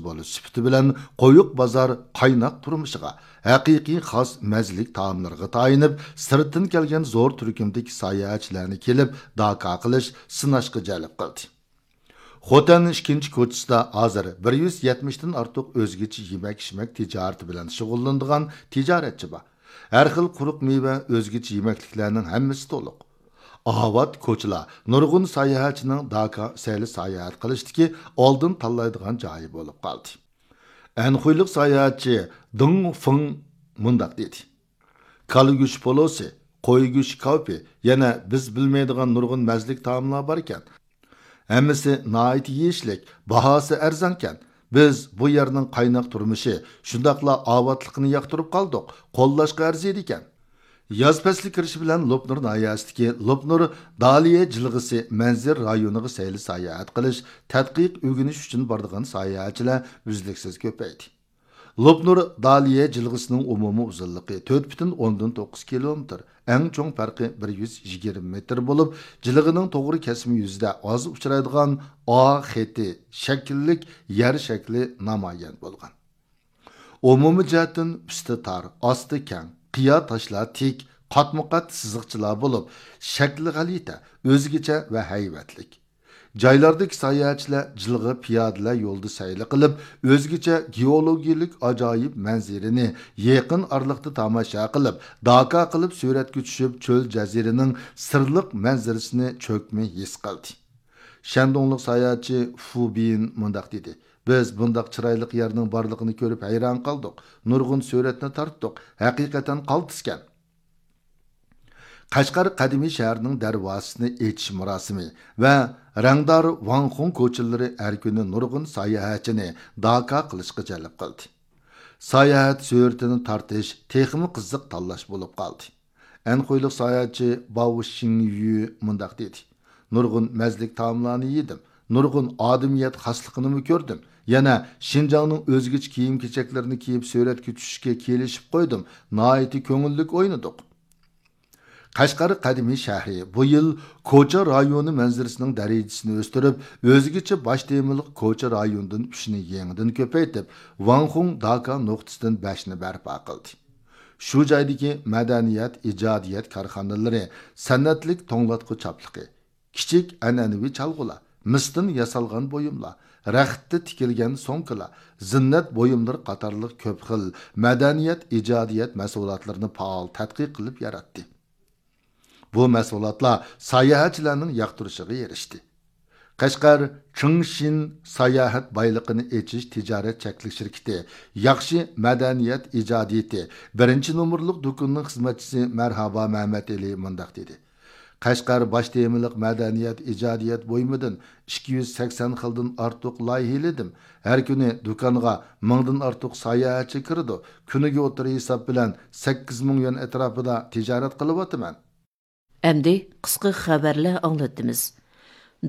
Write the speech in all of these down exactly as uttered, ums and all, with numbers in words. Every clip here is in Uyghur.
بولۇش سۈپىتى بىلەن قويۇق بازار قايناق تۇرمۇشىغا، ھەقىقىي خاس مەززىلىك تائاملىرىغا تايىنىپ، سىرتتىن كەلگەن زور تۈركۈمدىكى ساياھەتچىلەرنى كېلىپ داكا قىلىش، سىناشقا جەلپ قىلدى. خوتەن ئىككىنچى كوچىسىدا ھازىر بىر يۈز يەتمىشتىن ئارتۇق ئۆزگىچە يېمەك-ئىچمەك تىجارىتى بىلەن شۇغۇللىنىدىغان تىجارەتچى بار. ھەر خىل قۇرۇق مېۋە، ئۆزگىچە يېمەكلىكلەرنىڭ ھەممىسى تولۇق. ئاۋات كوچىلار نۇرغۇن ساياھەتچىنىڭ داكا سەيلە ساياھەت قىلىشتىكى ئالدىن تاللايدىغان جايى بولۇپ قالدى. ئەنخۇيلۇق ساياھەتچى دېڭ فېڭ مۇنداق دېدى: كالا گۆشى پولۇسى، قوي گۆشى كاۋىپى، يەنە بىز بىلمەيدىغان نۇرغۇن مەززىلىك تائاملار باركەن. ھەممىسى ناھايىتى يېيىشلىك، باھاسى ئەرزانكەن. بىز بۇ يەرنىڭ قايناق تۇرمۇشى، شۇنداقلا ئاۋاتلىقىنى ياقتۇرۇپ قالدۇق، قوللاشقا ئەرزىيدىكەن. ياز پەسلى كىرىشى بىلەن لوپنۇر ناھىيەسىدىكى لوپنۇر دالىيە جىلغىسى مەنزىرە رايونىغا سەيلە ساياھەت قىلىش، تەتقىق ئۆگىنىش ئۈچۈن بارىدىغان ساياھەتچىلەر ئۈزلۈكسىز كۆپەيدى. لوپنۇر دالىيە جىلغىسىنىڭ ئومۇمىي ئۇزۇنلۇقى تۆت پۈتۈن ئوندىن توققۇز كىلومېتىر، ئەڭ چوڭ پەرقى بىر يۈز يىگىرمە مېتىر بولۇپ، جىلغىنىڭ توغرا كەسمە يۈزىدە ئاز ئۇچرايدىغان ئا خېتى شەكىللىك يەر شەكلى نامايان بولغان. ئومۇمىي جەھەتتىن ئۈستى تار، ئاستى كەڭ، قىيا تاشلار تىك، قاتمۇقات سىزىقچىلار بولۇپ، شەكلى غەلىتە، ئۆزگىچە ۋە ھەيۋەتلىك. جايلاردىكى ساياھەتچىلەر جىلغا پىيادىلەر يولىدا سەيلە قىلىپ، ئۆزگىچە گېئولوگىيەلىك ئاجايىپ مەنزىرىنى يېقىن ئارىلىقتا تاماشا قىلىپ، داكا قىلىپ سۈرەتكە چۈشۈپ، چۆل جەزىرىنىڭ سىرلىق مەنزىرىسىنى چۆكمە ھېس قىلدى. شەندۇڭلۇق ساياھەتچى فۇ بىن مۇنداق دېدى: بىز بۇنداق چىرايلىق يەرنىڭ بارلىقىنى كۆرۈپ ھەيران قالدۇق، نۇرغۇن سۈرەتنى تارتتۇق، ھەقىقەتەن قالتىسكەن. قەشقەر قەدىمىي شەھىرىنىڭ دەرۋازىسىنى ئېچىش مۇراسىمى ۋە رەڭدار ۋاڭخۇڭ كوچىلىرى ھەر كۈنى نۇرغۇن ساياھەتچىنى داكا قىلىشقا جەلپ قىلدى. ساياھەت سۈرىتىنى تارتىش تېخىمۇ قىزىق تاللاش بولۇپ قالدى. ئەنخۇيلۇق ساياھەتچى باۋ شىڭيۈ مۇنداق دېدى: نۇرغۇن مەززىلىك تائاملارنى يېدىم، نۇرغۇن ئادىمىيەت خاسلىقىنىمۇ كۆردۈم. يەنە شىنجاڭنىڭ ئۆزگىچە كىيىم-كېچەكلىرىنى كىيىپ سۈرەتكە چۈشۈشكە كېلىشىپ قويدۇم. ناھايىتى كۆڭۈللۈك ئوينىدۇق. قەشقەر قەدىمىي شەھىرى بۇ يىل كوچا رايونى مەنزىرىسىنىڭ دەرىجىسىنى ئۆستۈرۈپ، ئۆزگىچە باش تېمىلىق كوچا رايونىدىن ئۈچنى يېڭىدىن كۆپەيتىپ، ۋاڭخۇڭ داكا نۇقتىسىدىن بەشنى بەرپا قىلدى. شۇ جايدىكى مەدەنىيەت، ئىجادىيەت كارخانىلىرى سەنئەتلىك توڭلاتقۇ چاپلىقى، كىچىك ئەنئەنىۋى چالغۇلار، مىستىن ياسالغان بۇيۇملار، رەختتە تىكىلگەن سومكىلار، زىننەت بۇيۇملىرى قاتارلىق كۆپ خىل مەدەنىيەت، ئىجادىيەت مەھسۇلاتلىرىنى پائال تەتقىق قىلىپ ياراتتى. بۇ مەھسۇلاتلار ساياھەتچىلەرنىڭ ياقتۇرۇشىغا ئېرىشتى. قەشقەر چىڭشىن ساياھەت بايلىقىنى ئېچىش تىجارەت چەكلىك شىركىتى ياخشى مەدەنىيەت ئىجادىيىتى بىرىنچى نومۇرلۇق دۇكىنىنىڭ خىزمەتچىسى مەرھابا مەمەتئېلى مۇنداق دېدى: قەشقەر باش تېمىلىق مەدەنىيەت ئىجادىيەت بۇيۇمىدىن ئىككى يۈز سەكسەن خىلدىن ئارتۇق لايىھىلىدىم. ھەر كۈنى دۇكانغا مىڭدىن ئارتۇق ساياھەتچى كىرىدۇ. كۈنىگە ئوتتۇرا ھېساب بىلەن سەككىز مىڭ يۈەن ئەتراپىدا تىجارەت قىلىۋاتىمەن. ئەمدى قىسقا خەۋەرلەر ئاڭلىتىمىز.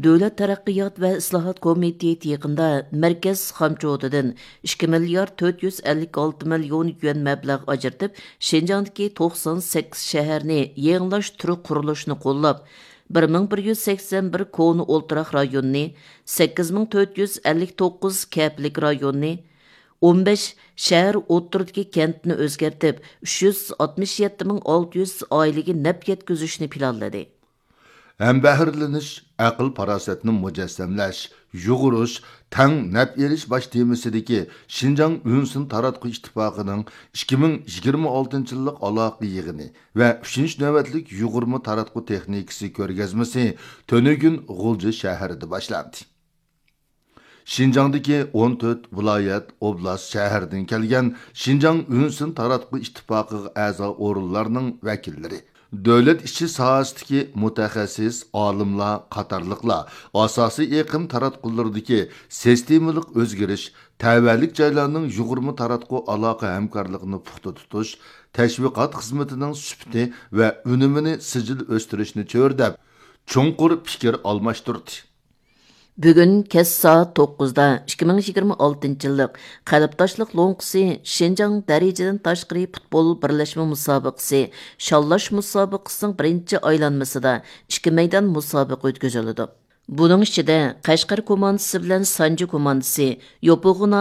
دۆلەت تەرەققىيات ۋە ئىسلاھات كومىتېتى يېقىندا مەركەز خامچوتىدىن ئىككى مىليارد تۆت يۈز ئەللىك ئالتە مىليون يۈەن مەبلەغ ئاجرىتىپ، شىنجاڭدىكى توقسان سەككىز شەھەرنى يېڭىلاش تۈرى قۇرۇلۇشىنى قوللاپ، بىر مىڭ بىر يۈز سەكسەن بىر كونا ئولتۇراق رايونىنى، سەككىز مىڭ تۆت يۈز ئەللىك توققۇز كەپىلىك رايونىنى، ئون بەش شەھەر ئوتتۇرىدىكى كەنتنى ئۆزگەرتىپ، ئۈچ يۈز ئاتمىش يەتتە مىڭ ئالتە يۈز ئائىلىگە نەپ يەتكۈزۈشنى پىلانلىدى. ھەمبەھىرلىنىش، ئەقىل-پاراسەتنى مۇجەسسەملەش، يۇغۇرۇش، تەڭ نەپ ئېلىش باش تېمىسىدىكى شىنجاڭ ئۈنسىن تاراتقۇ ئىتتىپاقىنىڭ ئىككى مىڭ يىگىرمە ئالتىنچى يىللىق ئالاقە يىغىنى ۋە ئۈچىنچى نۆۋەتلىك يۇغۇرما تاراتقۇ تېخنىكىسى كۆرگەزمىسى تۈنۈگۈن غۇلجا شەھىرىدە باشلاندى. شىنجاڭدىكى ئون تۆت ۋىلايەت، ئوبلاست، شەھەردىن كەلگەن شىنجاڭ ئۈنسىن تاراتقۇ ئىتتىپاقىغا ئەزا ئورۇنلارنىڭ ۋەكىللىرى، دۆلەت ئىچى ساھەسىدىكى مۇتەخەسسىس ئالىملار قاتارلىقلار ئاساسىي ئېقىم تاراتقۇلىرىدىكى سىستېمىلىق ئۆزگىرىش، تەۋەلىك جايلارنىڭ يۇغۇرما تاراتقۇ ئالاقە ھەمكارلىقىنى پۇختا تۇتۇش، تەشۋىقات خىزمىتىنىڭ سۈپىتى ۋە ئۈنۈمىنى سىجىل ئۆستۈرۈشنى چۆرىدەپ، چوڭقۇر پىكىر ئالماشتۇردى. بۈگۈن كەچ سائەت توققۇزدا ئىككى مىڭ يىگىرمە ئالتىنچى يىللىق قەلبداشلىق لوڭقىسى شىنجاڭ دەرىجىدىن تاشقىرى پۇتبول بىرلەشمە مۇسابىقىسى شاللاش مۇسابىقىسىنىڭ بىرىنچى ئايلانمىسىدا ئىككى مەيدان مۇسابىقە ئۆتكۈزۈلىدۇ. بۇنىڭ ئىچىدە قەشقەر كوماندىسى بىلەن سانجى كوماندىسى يوپۇرغا